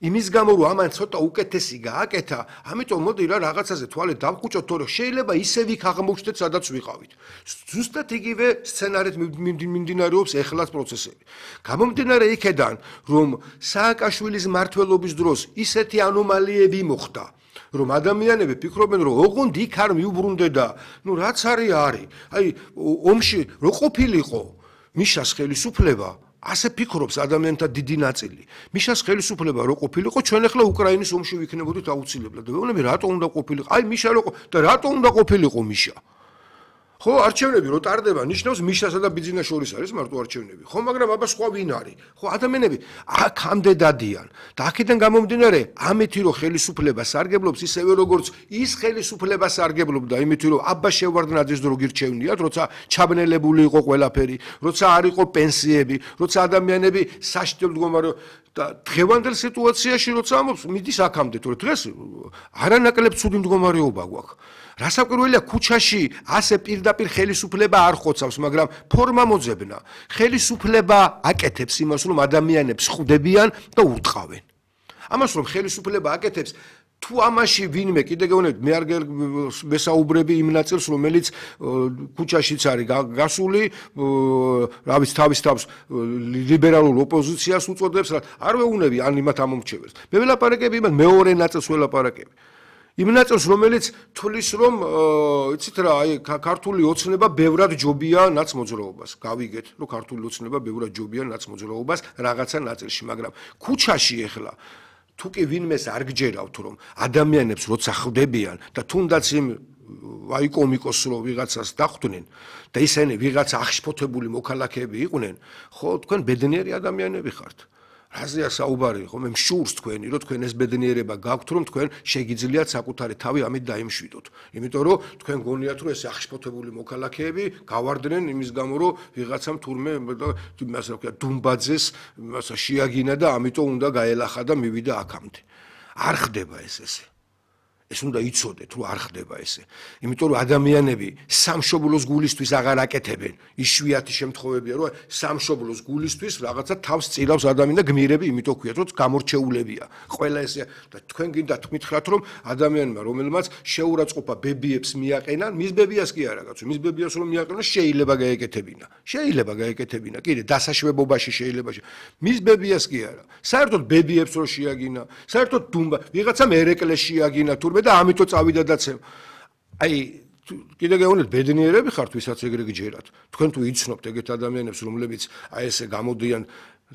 იმის გამო რომ ამან ცოტა უკეთესი გააკეთა, ამიტომ მოდი რა რაღაცაზე თვალე დავკუჭოთ, თორე შეიძლება ისევ იქ აღმოჩნდეთ, სადაც ვიყავით. ზუსტად იგივე სცენარით მიმდინარეობს ეხლაც პროცესები. გამომდინარე იქედან, რომ სააკაშვილის მმართველობის დროს ისეთი ანომალიები მოხდა, რომ ადამიანები ფიქრობენ, რომ ოღონდ იქ არ მიუბრუნდედა, რაც არის. აი, ომში რო ყოფილიყო მიშას ხელისუფლება, ასე ფიქრობს ადამიანთა დიდი ნაწილი. მიშას ხელისუფლება რო ყოფილიყო, ჩვენ ახლა უკრაინის ომში ვიქნებოდით აუცილებლად. ვეუბნები, რატო უნდა ყოფილიყო? აი, მიშა და რატო უნდა ყოფილიყო მიშა? ხო, არჩევნები რო ტარდება, ნიშნავს მიშასა და ბიძინას შორის არის მარტო არჩევნები. ხო, მაგრამ აბა სხვა ვინ არის? ხო, ადამიანები აქამდე დადიან. და აქედან გამომდინარე, ამეთი რომ ხელისუფლება სარგებლობს ისევე როგორც ის ხელისუფლება სარგებლობდა, იმით რომ აბა შევარდნაძის დრო გირჩევნიათ, როცა ჩაბნელებული იყო ყველაფერი, როცა არ იყო პენსიები, როცა ადამიანები საშინელ მდგომარეობაში და დღევანდელ სიტუაციაში როცა ამბობს, მიდის აქამდე, თორე დღეს არანაკლებ ცუდი მდგომარეობა გვაქვს. რასაკვირველია, ქუჩაში ასე პირდაპირ ხელისუფლება არ ხოცავს, მაგრამ ფორმა მოძებნა. ხელისუფლება აკეთებს იმას, რომ ადამიანებს ხვდებიან და ურტყავენ. ამას რომ ხელისუფლება აკეთებს, თუ ამაში ვინმე კიდე გეუბნებით, მე არ მესაუბრები იმ ნაწილს, რომელიც ქუჩაშიც არის გასული, რავის თავის თავს ლიბერალურ ოპოზიციას უწოდებს, არ ვეუბნები ან იმათ ამომრჩეველს. მე ველაპარაკები იმათ მეორე ნაწილს ველაპარაკები. იმ ნაწილს, რომელიც თulis რომ იცით რა, აი ქართული ოცნება ბევრად ჯობია ნაცმოძრაობას. გავიგეთ, რომ ქართული ოცნება ბევრად ჯობია ნაცმოძრაობას რაღაცა ნაწილში, მაგრამ ქუჩაში ეხლა თუ კი ვინმეს არ გჯერავთ, რომ ადამიანებს როცა ხვდებიან და თუნდაც იმ ვაიკომიკოს რო ვიღაცას დახვდნენ და ისინი ვიღაცა აღშფოთებული მოქალაქეები იყვნენ, ხო, თქვენ ბედნიერი ადამიანები ხართ. რაზეა საუბარი, ხო, მე მშურს თქვენი, რომ თქვენ ეს ბედნიერება გაქვთ, რომ თქვენ შეგიძლიათ საკუთარი თავი ამით დაიმშვიდოთ. იმიტომ რომ თქვენ გონიათ, რომ ეს აღშფოთებული მოქალაქეები გავარდნენ იმის გამო, რომ ვიღაცამ თურმე იმას რა ქვია, დუმბაძეს შეაგინა და ამიტომ უნდა გაელახა და მივიდა აქამდე. არ ხდება ესე. ეს უნდა იცოდეთ, რომ არ ხდება ესე. იმიტომ რომ ადამიანები სამშობლოს გულისთვის აღარ აკეთებენ. იშვიათი შემთხვევებია, რომ სამშობლოს გულისთვის რაღაცა თავს წილავს ადამიანი და გმირები, იმიტომ ქვიათ, რომ გამორჩეულებია. ყველა ესე და თქვენ გინდათ მითხრათ, რომ ადამიანმა, რომელმაც შეურაცხყოფა ბებიებს მიაყენან, მის ბებიას კი არა, კაცო, მის ბებიას რომ მიაყენოს, შეიძლება გაეკეთებინა. შეიძლება გაეკეთებინა. კიდე დასაშვებობაში შეიძლება. მის ბებიას კი არა. საერთოდ ბებიებს რო შეაგინა, საერთოდ დუმბა, ვიღაცამ ერეკლეს შეაგინა თურმე და ამიტომ წავიდა დაცემ. აი, კიდე გეუბნებით, ბედნიერები ხართ, ვისაც ეგრე გჯერათ. თქვენ თუ იცნობთ ეგეთ ადამიანებს, რომლებიც აი ესე გამოდიან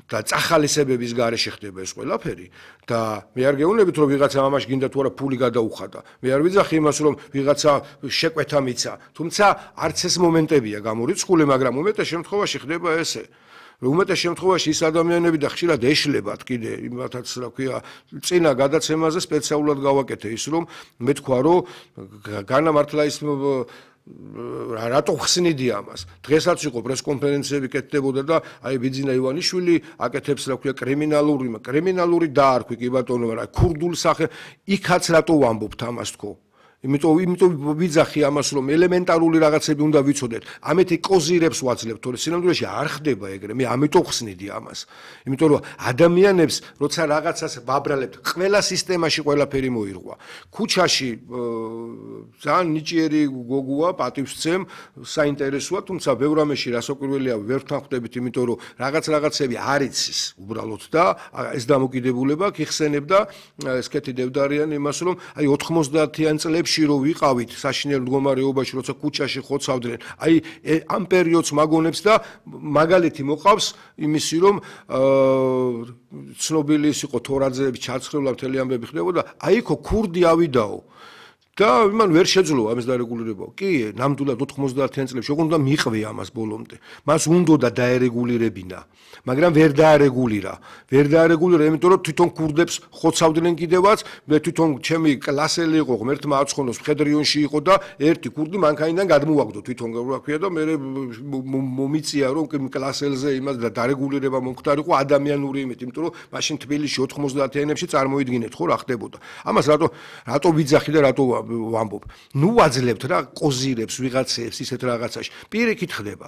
და წახალისებების გარეშე ხდება ეს ყველაფერი და მე არ გეუბნებით, რომ ვიღაცა ამაში გინდა თუ არა ფული გადაუხადა. მე არ ვიძახი იმას, რომ ვიღაცა შეკვეთა მიცა, თუმცა არც ეს მომენტებია გამორიცხული, მაგრამ უმეტეს შემთხვევაში ხდება ესე. უმეტეს შემთხვევაში ის ადამიანები და ხშირად ეშლებათ კიდე იმათაც რა ქვია წინა გადაცემაზე სპეციალურად გავაკეთე ის რომ მე თქვა რომ განამართლა ის რატო ხსნიდი ამას დღესაც იყო პრესკონფერენციები კეთდებოდა და აი ბიძინა ივანიშვილი აკეთებს რა ქვია კრიმინალური დაარქვი კი ბატონო რა ქურდულ სახე იქაც რატო ვამბობთ ამას თქო იმიტომ ვიძახი ამას რომ ელემენტარული რაღაცები უნდა ვიცოდეთ. ამეთი კოზირებს ვაძლევთ, თორე სინამდვილეში არ ხდება ეგრე. მე ამიტომ ხსნიდი ამას. იმიტომ რომ ადამიანებს როცა რაღაცას ვაბრალებთ, ყველა სისტემაში ყველაფერი მოირღვა. ქუჩაში ძალიან ნიჭიერი გოგოა, პატივსცემ, საინტერესოა, თუმცა ბევრ ამაში რასაკვირველია ვერ თანხმდებით, იმიტომ რომ რაღაცები არ იცის უბრალოდ და ეს დამოკიდებულება გიხსენებდა ესკეთი დევდარიანი იმას რომ აი 90-იან წლებში რო ვიყავით საშინელ მდგომარეობაში, როცა ქუჩაში ხოცავდნენ, აი ამ პერიოდს მაგონებს და მაგალითი მოყავს იმისი, რომ ცნობილი ის იყო თორაძეების ჩაცხრევლა მთელი ამბები ხდებოდა, აი იქო ქურდი ავიდაო. და იმან ვერ შეძლო ამის დარეგულირება. კი, ნამდვილად 90-იან წლებში ოღონდ უნდა მიყვე ამას ბოლომდე. მას უნდა დაერეგულირებინა, მაგრამ ვერ დაარეგულირა. იმიტომ რომ თვითონ ქურდებს ხოცავდნენ კიდევაც, მე თვითონ ჩემი კლასელი იყო, ღმერთმა აცხონოს, მხედრიონში იყო და ერთი ქურდი მანქანიდან გადმოვაგდო თვითონ რა ქვია და მე მომიწია რომ კლასელზე იმას და დარეგულირება მომხდარიყო ადამიანური იმით, იმიტომ რომ მაშინ თბილისში 90-იანებში წარმოიდგინეთ ხო რა ხდებოდა. ამას რატო ვიძახი და რატო ვამბობ. ნუ ვაძლევთ რა ყოზირებს ვიღაცებს ისეთ რაღაცაში. პირიქით ხდება.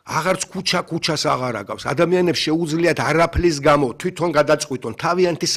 აღარც ქუჩას აღარ აკავს. ადამიანებს შეუძლიათ არაფლის გამო თვითონ გადაწყვიტონ თავიანთი